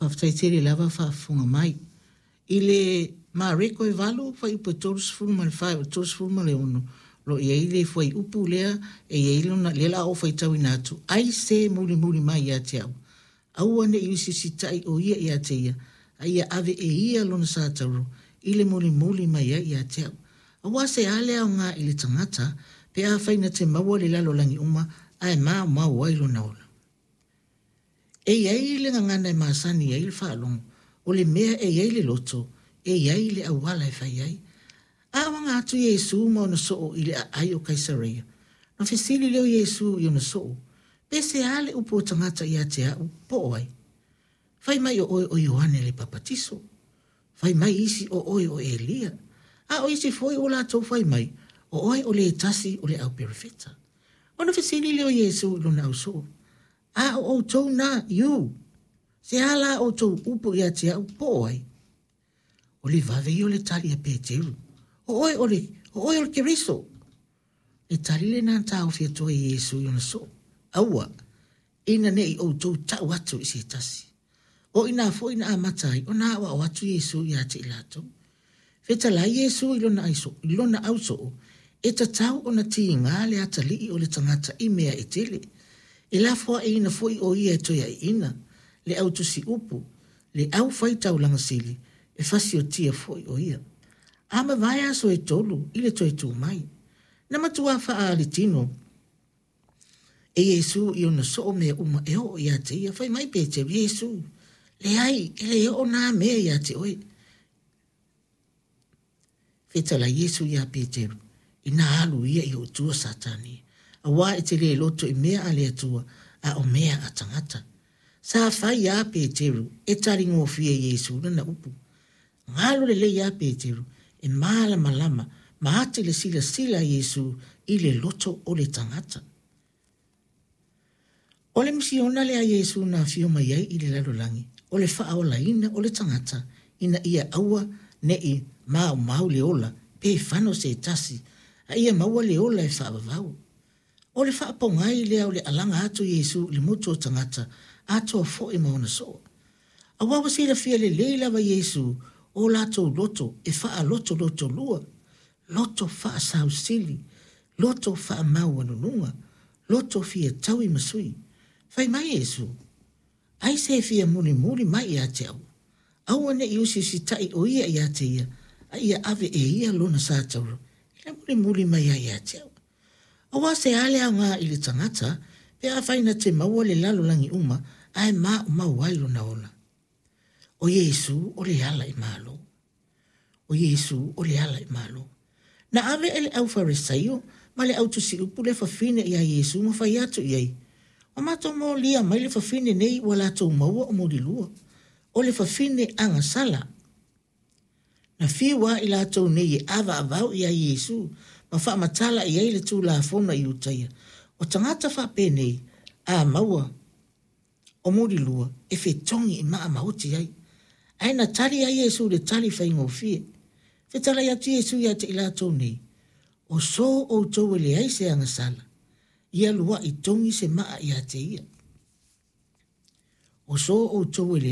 Faafetai tele lava faafofoga mai. I le Mareko e 8, fuaiupu e 34 e oo i le 36, lo o i ai le fuaiupu lea e i ai lona, lea la o faitauina atu, ai se mulimuli mai ia te au, aua ne i usiusitai o ia ia te ia, a ia ave e ia lona satauro i le mulimuli mai ai ia te au. Aua se a le aoga i le tagata pe afai na te maua le lalolagi uma ae maumau ai lona ola. E i ai le gagana e masani ai le faalogo, o le mea e i ai le loto, e i ai le auala e fai ai. A o aga atu Iesu ma ona soo i le aai o Kaisareia, na fesili lea o Iesu i ona soo, pe se a le upu o tagata ia te au, po o ai? Fai mai o oe o Ioane le Papatiso. Fai mai isi o oe o Elia. A o isi foi ua latou fai mai, o oe o le tasi o le au perofeta. Ona fesili lea o Iesu i lona ausoo, A o outou na, iu, se a la outou upu ia te au, po o ai? O le vave ia o le tali a Peteru, O oe o le, o oe o le Keriso. Le tali lena na taofi atu ai Iesu i ona soo, Aua, ina ne i outou tau atu i se tasi. O ina foi na amata ai ona aoao atu Iesu ia te i latou. Fetalai Iesu i lona, aiso, i lona ausoo, e tatau ona tiga le atalii o le tagata i mea e tele. E lafoaiina foi o ia e toe aiina, le au tusiupu, le au fai taulaga sili, e fasiotia foi o ia. A mavae aso e tolu i le toe tu mai. Na matua faaalitino e Iesu i ona soo mea uma e oo ia te ia. Fai mai Peteru, Iesu, leai, e le oo nā mea ia te oe. Fetalai Iesu iā Peteru, inā alu ia i ou tua Satani, auā e te le loto i mea a le Atua, a o mea a tagata. Sa fai iā Peteru e taligofie Iesu lana upu. Galo lelei iā Peteru e mālamalama ma ati le silasila a Iesu i le loto o le tagata. O le misiona lea a Iesu na afio mai ai i le lalolagi, o le faaolaina o le tagata ina ia aua ne i maumau le ola pe fano se tasi, a ia maua le ola e faavavau. O le faapogai lea o le alaga atu o Iesu i le motu o tagata atoa foi ma ona soo. Aua ua silafia lelei lava Iesu o latou loto e faalotolotolua, loto faasausili, loto faamaualuluga, loto fia taui ma sui. Fai mai Iesu, Ai se fia mulimuli mai ia te au, aua ne i usiusitai o ia ia te ia, a ia ave e ia lona satauro i le mulimuli mai ai ia te au. Aua se a le aoga i le tagata pe afai na te maua le lalolagi uma ae maumau ai lona ola? O Iesu o le ala i Malo. O Iesu o le ala i Malo. Na ave e le au Farisaiio ma le au tusiupu le fafine iā Iesu ma fai atu i ai, Ua matou molia mai le fafine nei ua latou maua o mulilua, o le fafine agasala. Na fiu lava i latou nei e avaavau iā Iesu ma faamatala i ai le Tulafono a Iutaia, o tagata faapenei a maua o mulilua e fetogi i maa ma oti ai. Ae na tali lava Iesu i le tali faigofie. Fetalai atu Iesu ia te i latou nei, O so outou e leai se agasala, ia lua'i togi se maa ia te ia. O so outou e leai.